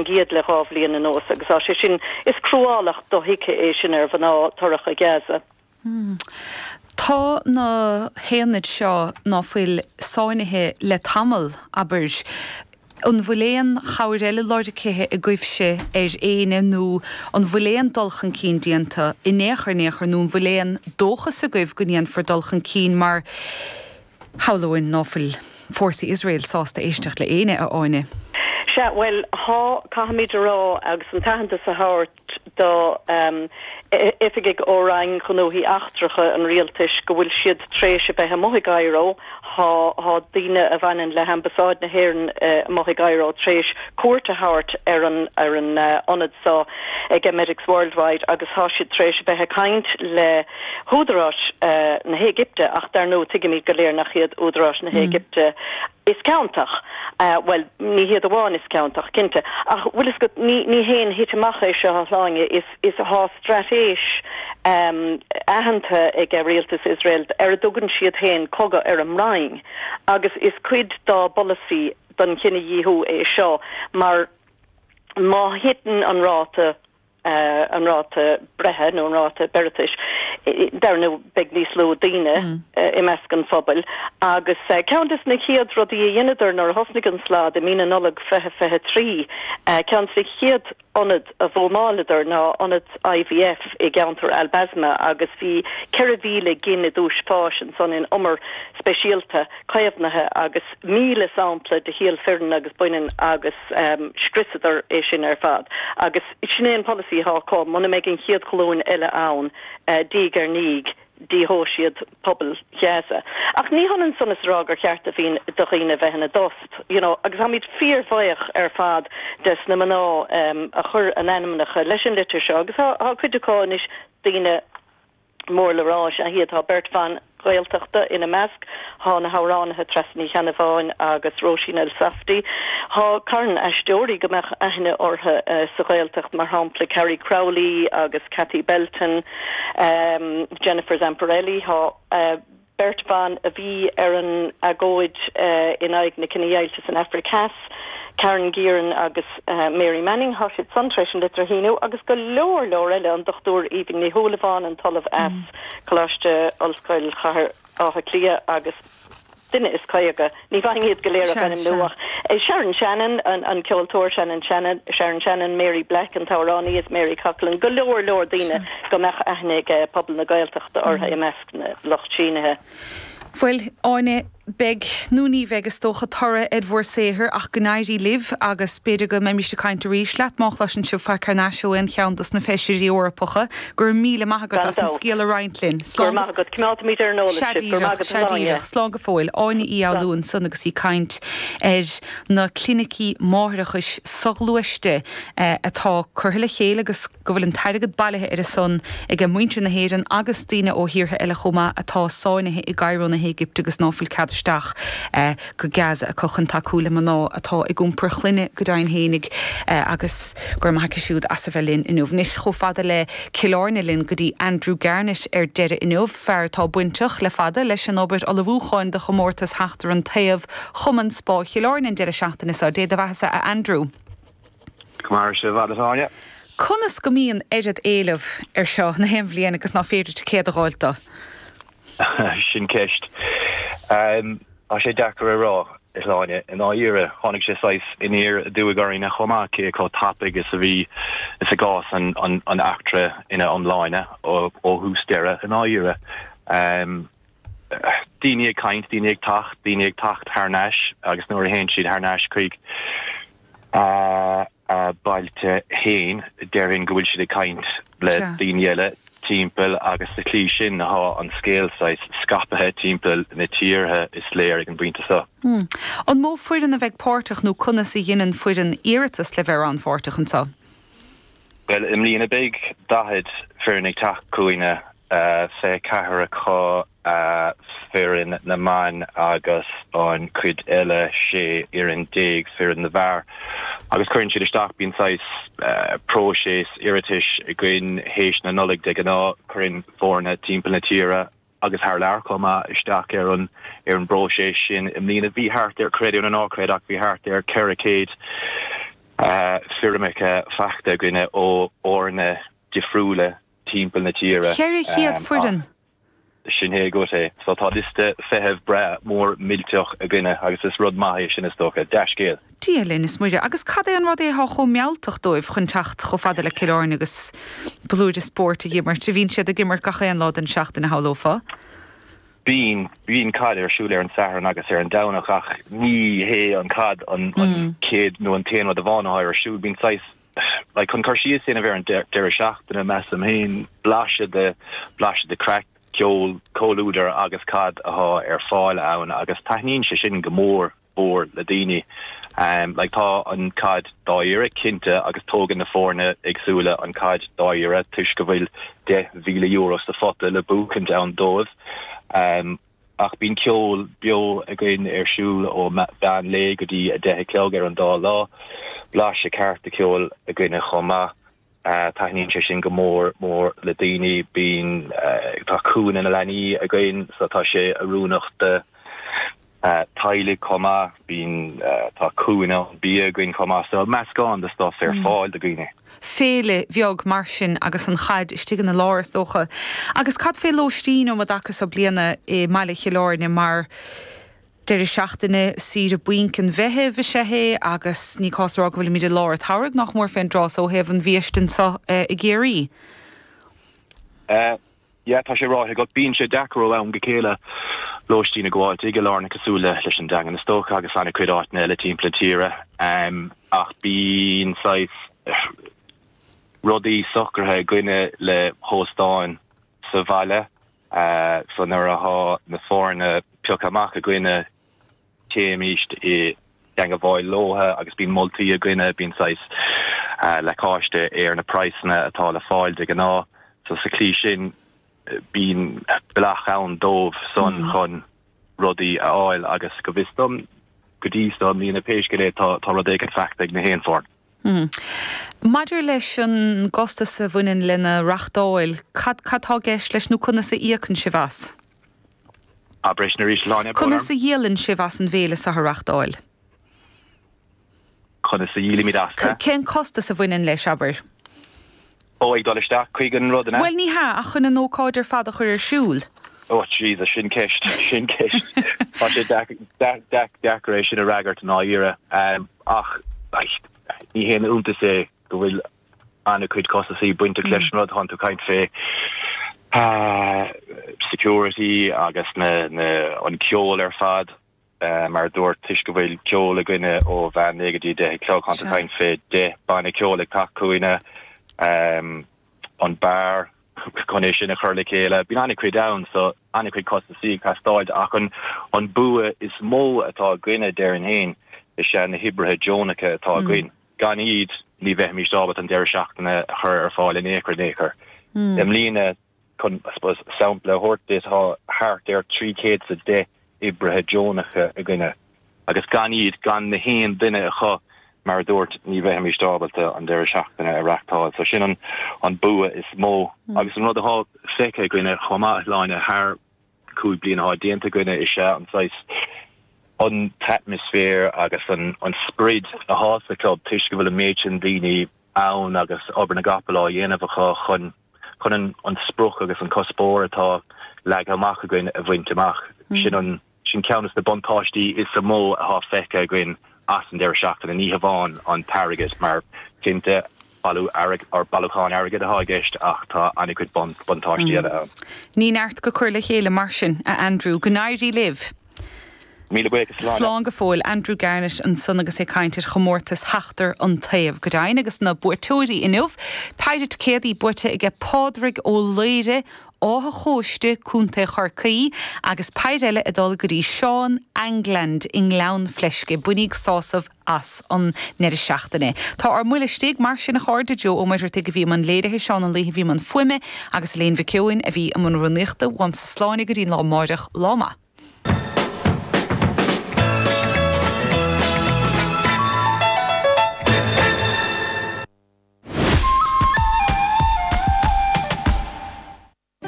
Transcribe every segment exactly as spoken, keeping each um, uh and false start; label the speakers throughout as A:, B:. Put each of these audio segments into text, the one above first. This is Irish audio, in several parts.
A: gcéad le dhá bhliain anuas agus tá sé sin, is cruálacht dothuigthe é sin ar mhná torracha Gaza.
B: Tá na haonaid seo ná fuil sáinnithe le tamall, abair, an bhfuil aon chabhair eile lorgaithe agaibhse ar éinne nó an bhfuil aon dul chun cinn déanta in aon chor in aon chor nó an bhfuil aon dóchas agaibh go ndéanfar dul chun cinn mar shamhlóinn ná fuil fórsaí Iosrael sásta éisteacht le éinne, a Áine?
A: Sea, bhuel, thá, caithfimid a rá agus an t-aitheantas a thabhairt do oifigigh ó Roinn Ghnóthaí Eachtracha an Rialtais go bhfuil siad tréis a bheith amuigh i gCairo. Thá, thá daoine a bhaineann le hAmbasáid na hÉireann amuigh i gCairo tréis cuairt a thabhairt ar an, ar an ionad so ag Medics Worldwide agus thá siad tréis a bheith ag caint le húdaráis na hÉigipte ach dar ndóigh tuigimid go léir nach iad údaráis na hÉigipte is ciontach. Bhuel, ní hiad amháin is ciontach, cinnte. Ach bhfuil fhios agat, ní, ní haon thit amach é seo, a Shláine, is, is thá straitéis aitheanta ag rialtas Iosrael ar a dtugann siad féin cogadh ar an mbroinn agus is cuid dá bpolasaí don chinedhíothú é seo mar má thiteann an ráta an ráta breithe nó an ráta beireatais, dar ndóigh beidh níos lú daoine i measc an phobail. Agus ceann de na chéad rudaí a dheineadar nuair a thosnaigh an slad i mí na Nollag fiche fiche trí, ceann de na chéad ionad a bhuamáileadar ná ionad I V F i gceantar Al Basma agus bhí ceithre mhíle gin i dtús fáis ansan in umar speisialta caomhnaithe agus míle sampla de shíol fireann agus baineann agus scriosadar é sin ar fad. Agus sin é an polasaí atá acu, muna mbeidh an chéad ghlúin eile ann, diaidh ar ndiaidh, díothóidh siad pobal Ghaza. Ach ní hionann san is a rá gur cheart do do dhaoine bheith ina dtost, you know, agus táimid fíorbhuíoch ar fad des na mná a chuir a n-ainmneacha leis an litir seo agus tá cuid acu anois daoine mór le rá is ea iad. Tá beirt bhan Ghaeltachta ina measc, tá na hamhránaithe Treasa Ní Cheannabháin agus Róisín Elsafty. Tá carn aisteoirí go mbeadh aithne orthu sa Ghaeltacht, mar shampla Carrie Crowley agus Cathy Belton, Jennifer Zamparelli. Tá beirt bhan a bhí ar an agóid in aghaidh na cinedheighilte san Afraic Theas, Karen Gearan agus Mary Manning, thá siad san tar éis an litir a shíniú, agus go leor leor eile, an Dochtúir Aoibhinn Ní Shúilleabháin, an tOllamh as Coláiste Ollscoil Chathair Átha Cliath agus duine is caoga, ní bhfaighinn iad go léir ach ainmniú ach Sharon Shannon, an ceoltóir Shannon Shannon, Sharon Shannon, Mary Black, an t-amhránaí is Mary Coughlan, go leor leor daoine go mbeadh aithne ag pobal na Gaeltachta orthu i measc na lucht sínithe.
B: Bhuel, Áine, beidh nó ní bheidh is dócha toradh ar bhur saothar ach go n-éirí libh agus b'fhéidir go mbeimis ag caint arís leat má chloiseann sibh faic thar n-ais ó aon cheann dos na feisirí Eorpacha. Go raibh míle maith agat as an scéal a roinnt linn.
A: Go raibh maith agat. Coimeádfaimid ar an eolas sibh. Go raibh maith agat,
B: Sea díreach. Slán go fóill. Áine Uí Fhoghlú ansan agus í ag caint ar na clinicí máithreachais soghluaiste atá curtha le chéile agus go bhfuil an t-airgead bailithe ar a son ag muintir na hÉireann agus daoine ó thíortha eile chomh maith atá sáinnithe i gCairo na hÉigipte agus ná fuil cead isteach go Gaza acu chun tacú le mná atá ag iompar clainne go deimhin fhéinig agus go raibh maith aici siúd as a bheith linn inniu. Anois chomh fada le Cill Airne linn go dtí Andrew Garnett ar deireadh inniu, fear atá bainteach le fada leis an obair ullmhúcháin do chomórtas Theachtar an Taobh Chumann Spá Chill Airne an deireadh seachtaine seo. Dé do bheathasa, a Andrew.
C: Mar se bhd.
B: Conas go mbíonn oiread éileamh ar seo na haon bhliain agus ná féidir ticéad a fháil dó?
C: Sin ceist. Um, Tá sé deacair a rá, a Shláine, i ndáiríre tháinig sé saghas aniar aduaidh orainne chomh maith cé chomh tapaidh is a bhí is a d'fhás an, an, an eachtra ina iomláine ó, ó thús deireadh i ndáiríre. Um, daoine ag caint, daoine ag teacht, daoine ag teacht thar n-ais agus nuair a théann siad thar n-ais chuig uh, a bailte féin, déarfainn go bhfuil siad ag caint le daoine eile timpeall agus sa tslí sin thá an scéal saghas scaipthe timpeall na tíre is léir ag an bpointe seo.
B: Hmm. An mó foireann a bheidh páirteach nó conas a dhéanann foireann iarratas le bheith rannpháirteach anseo?
C: Well, i mbliana beidh daichead foireann ag teacht chugainne, fiche ceathair acu foireann na mban agus an chuid eile sé fhoireann déag foireann na bhfear. Agus cuireann siad isteach, bíonn saghas próiseas iarratais againn théis na Nollag de ghnáth, cuireann foirne timpeall na tíre agus thar lear chomh maith isteach ar an ar an bpróiseas sin. I mbliana bhí thart ar, creid é nó ná creid, ach bhí thart ar ceithre chéad Foirmeacha faighte againne ó fhoirne difriúla timpeall na tíre.
B: Ceithre chéad foireann?
C: Sin é agat é. So tá liosta feithimh breá mór millteach againne agus is rud maith é sin is dócha. Dea-scéal.
B: Dia linn is Muire. Agus cad é an rud é atá chomh mealltach dóibh chun teacht chomh fada le Cill Airne agus blúire spóirt a dh'imirt? Bhíonn siad ag imirt gach aon lá den seachtain a shamhlófá.
C: Bíonn, bíonn caid ar siúl ar an Satharn agus ar an Domhnach ach ní hé an caid an chéad nó an t-aon rud amháin atá ar siúl. Bíonn saghas, like, chun cur síos a dhéanamh ar an deireadh seachtaine, measaim féin, blaiseadh de, blaiseadh de craic, ceol, comhluadar agus caid atá ar fáil ann agus taitníonn sé sin go mór mhór le daoine. Like tá an caid dáiríre, cinnte, agus tógann na foirne éagsúla an caid dáiríre toisc go bhfuil deich mhíle euro sa phota le buachaint ann dóibh. Ach bíonn ceol beo againn ar siúl ó mheán lae go dtí a deich a chlog ar an dá lá. Blaiseadh ceart de cheol againne chomh maith. Taitníonn sé sin go mór mór le daoine. Bíonn, tá cúinne na leanaí againn so tá sé oiriúnach do teaghlaigh chomh maith. Bíonn, tá cúinne bia againn chomh maith so meascán de stuff ar fáil do dhaoine.
B: Féile bheag mar sin agus an chaid istigh ina lár is dócha. Agus cad fé lóistín um an dtaca so bliana i mbaile Chill Airne mar deireadh seachtaine saoire bainc an Mheithimh is ea é agus ní cás a rá go bhfuilimid i lár an tsamhraidh nach mór fén dtráth so ó thaobh an bhiaiste anseo i gCiarraí.
C: Yeah, tá sé ráite agat. Bíonn sé deacair ó am go chéile lóistín a ghabháilt i gCill Airne cosúil le leis an Daingean is dócha agus an-chuid áiteanna eile timpeall na tíre. Ach bíonn saghas rudaí socraithe againne le hóstáin sa bhaile so nuair athá na foirne pioctha amach againne téimíst i dteangabháil leotha agus bíonn moltaí againne, bíonn saghas lacáiste ar na praghsanna atá le fáil de ghnáth. So sa tslí sin bíonn bealach ann dóibh san chun rudaí a fháil agus go bhfios dom go dtí seo i mbliana pé scéal é tá tá rud éigin faighte ag na haon foireann.
B: Maidir leis an gcostas a bhaineann lena reachtáil, cad cad tá i gceist leis nó conas a íocann sibh as?
C: Abair é sin arís, Sláine, brón orm.
B: Conas a dhíolann sibh as an bhféile seo a reachtáil?
C: Conas a dhíolaimid as?
B: Cén costas a bhaineann leis, abair?
C: Ó, ag dul isteach chuig an rud, an ea?
B: Bhuel, ní hea, ach chun an ócáid ar fad a chur ar siúl.
C: Ó, Jesus, sin ceist, sin ceist. Tá sé deacair é sin a fhreagairt i ndáiríre. Ach ní haon iontas é go bhfuil an-chuid costasaí bainteach leis an rud. Tánn tú ag caint fé security agus na, na, an ceol ar fad. Mar a dúirt, toisc go bhfuil ceol againne ó mheán lae go dtí a deich a chlog, tánn tú ag caint fé deich banna ceoil ag teacht chugainne, an beár chun é sin a chur le chéile. Bíonn an-chuid ann so an-chuid costasaí ag teastáil ach an bua is mó atá againne, déarfainn féin, is ea na hoibrithe deonacha atá againn. Gan iad ní bheimís ábalta an deireadh seachtaine a chur ar fáil in aon chor in aon chor. I mbliana, chun, I suppose, sampla a thabhairt duit, tá thart ar trí chéad is a deich oibrithe deonacha againne agus gan iad, gan na haon duine acu, mar a dúirt, ní bheimís ábalta an deireadh seachtaine a reachtáil. So sin an an bua is mó. Agus an rud athá feicthe againne chomh maith, a Shláine, thar cúig bliana athá déanta againne is ea an saghas, an t-atmaisféar agus an an sprid athá sa chlub toisc go bhfuil an méid sin daoine ann agus obair na gcapall á dhéanamh acu chun chun an an sprioc agus an cuspóir atá leagtha amach againn a bhaint amach. Sin an sin ceann des na buntáistí is mó atá feicthe againn as an deireadh seachtaine, ní hamháin an t-airgead, mar cinnte bailiú airgid or bailiúchán airgid atá i gceist ach tá an-chuid buntáistí eile ann.
B: Ní neart go cur le chéile mar sin, a Andrew. Go n-éirí libh!
C: Míle buíochas, a Shláine.
B: Slán go fóill. Andrew Garnett ansan agus é ag caint ar chomórtas Sheachtar an Taobh. Go deimhin, agus na buaiteoirí inniu, péire ticéadaí buaite aige Pádraig Ó Laoire, Áth a' Chóiste, Contae Chorcaí, agus péire eile ag dul go dtí Seán England i nGleann Fleisce. Bainíg sásamh as an ndeireadh seachtaine. Tá ár mbuille istigh, mar sin, a chairde, Joe Ó Muircheartaigh a bhí i mbun léirithe, Seán Ó Laoithe a bhí i mbun fuaime, agus Elaine Mhic Eoin a bhí i mbun rúnaíochta. Uaimse Sláine go dtí an lá amáireach. Lá maith.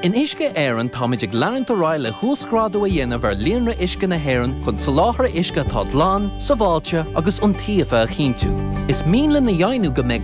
D: In Uisce Éireann táimid ag leanúint ar aghaidh le huasghrádú a dhéanamh ar líonra uisce na hÉireann chun soláthar uisce atá glan, sábháilte agus iontaofa a chinntiú. Is mian linn a dheimhniú go mbeidh